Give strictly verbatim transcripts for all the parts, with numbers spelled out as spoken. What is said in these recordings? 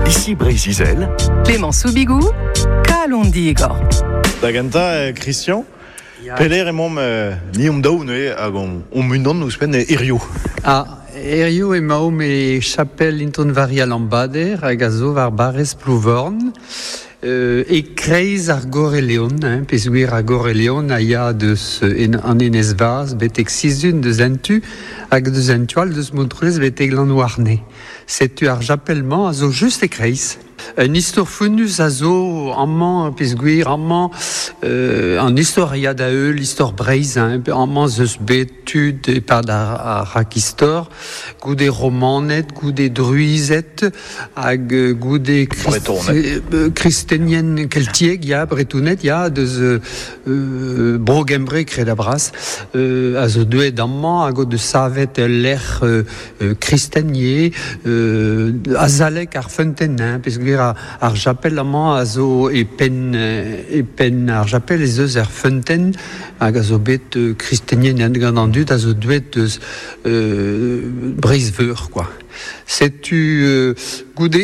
Ici Breizh-Izel. Clément Soubigou, Kalon Digor. Da genta, Christian, peler emaomp euh, ni om daou neuze hag om, om unan ouzhpenn hirio. Ah, hirio emaomp e chapel Inton Varia Lambader hag a zo war barrez Plouvorn. Euh, e kreiz ar Goreleon, hein, peogwir ar Goreleon a ya deus en, an enez vaz betek sizun deus entu hag deus entual deus Montroulez betek Lanouarne. Setu ar japelman a zo just e kreiz. Un istor founnus a zo amañ peogwir amañ euh, an istor a ya da heul, istor Breizh, hein, amañ zeus bet tud e-pad ar, ar rakistor, goude romaned, goude druized, hag goude Bretoned. euh, kristenien keltiek, ya, bretoned, ya, deus euh, bro Gembre kred a bras, euh, a zo deuet amañ hag o deus savet lec'h euh, euh, kristenier, euh, azalek ar feunteun, hein, peogwir ar, ar japel amañ a zo e penn, e penn ar japel ez eus ar feunteun hag a zo bet euh, kristenien gant an dud a zo deuet deus euh, Breizh-Veur, quoi. Setu euh, goude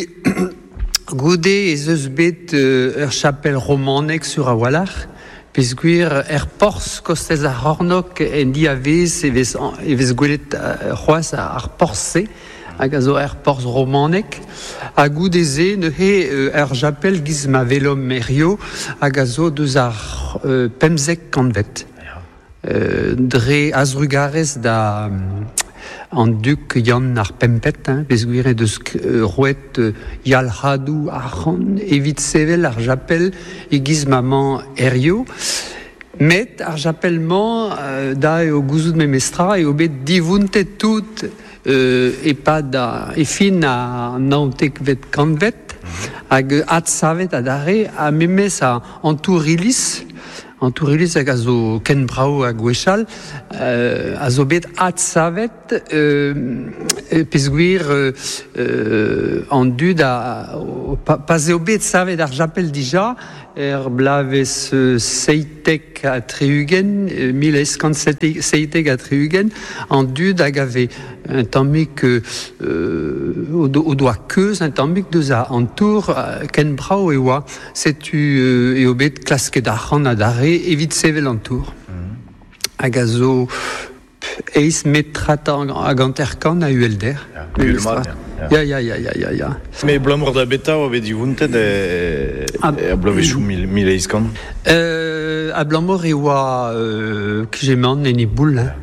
goude ez eus bet euh, ur chapel romanek sur a walc'h, peogwir er porzh kostez ar c'hornôg en diavez e vez, e vez gwelet euh, c'hoazh ar porzh-se, hag a zo er porzh romanek, ha goude se neuze euh, er japel giz ma welomp hirio hag a zo deus ar euh, pemzek kantved. Euh, dre a-drugarez da an duk Yann ar Pempet, hein, peogwir e deus euh, roet euh, yalc'hadoù arc'hant evit sevel ar japel e-giz ma 'mañ hirio. Met ar japel-mañ euh, da eo gouzout memestra eo bet divountet tout euh, e-pad a, e fin a naontekvet kantved hag adsavet adarre ha memes a an tour iliz, an tour iliz hag a zo ken brav ha gwechall, euh, a zo bet adsavet euh, peogwir euh, euh, an dud a, o, pa, pa eo bet savet ar japel dija er bloavezh euh, seitek ha tri-ugent, euh, mil eizh kant seitek ha tri-ugent, an dud hag ave un tammig euh, o, do, o doa keuz un tammig deus a an tour euh, ken brav e oa setu euh, eo bet klasket arc'hant adarre evit sevel an tour. Hag a zo eizh metrad hag hanter-kant a uhelder. Uhel-mat, Ya, ya, ya, ya, ya, ya. Me abalamour da betra oa bet divountet e, Ah. e bloavezhioù mil, mil eizh kant. Euh, abalamour e oa euh, kement en e boull, hein.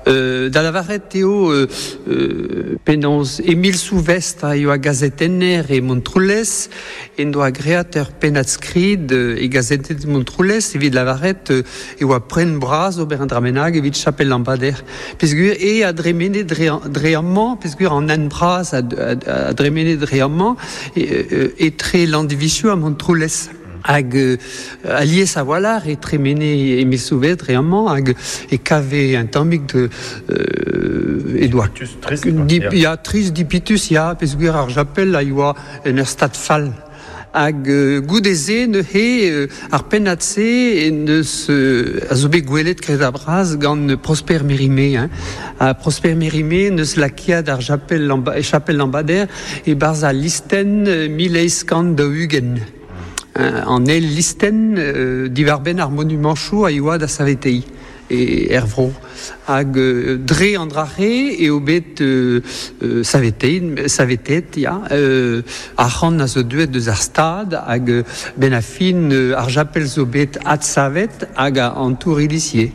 Euh, da lavaret eo euh, euh, penaos Émile Souvestre a ioa gazetenner e Montroulez en doa great ur pennad-skrid euh, e gazetenn Montroulez evit lavaret euh, e oa poent bras ober un dra bennak evit chapel Lambader. Peogwir e a dremene dre, dre amañ, peogwir an hent bras a, a, a dremene dre amañ e, e, etre Landivisiau ha Montroulez. Hag euh, alies a-walc'h e tremene Émile Souvestre dre amañ hag e kave un tammig de euh, e doa Trist, quoi. Dip, ya, trist dipitus, ya, peogwir ar japel a yoa en ur stad fall. Hag euh, goude-se neuze euh, ar pennad-se en deus euh, a zo bet gwelet kred a bras gant Prosper Mérimée, hein. Ha Prosper Mérimée neus lakaet ar japel Lamba, chapel Lambader e-barzh al listenn euh, mil eizh kant daou-ugent. Hein, an eil listenn euh, diwar-benn ar monumanchoù a yoa da saveteiñ e er vro. Hag euh, dre an dra-se eo bet euh, euh, savetein, savetet, ya, euh, arc'hant a zo deuet deus ar stad hag euh, ben a fin euh, ar japel zo bet adsavet hag a an tour iliz ivez.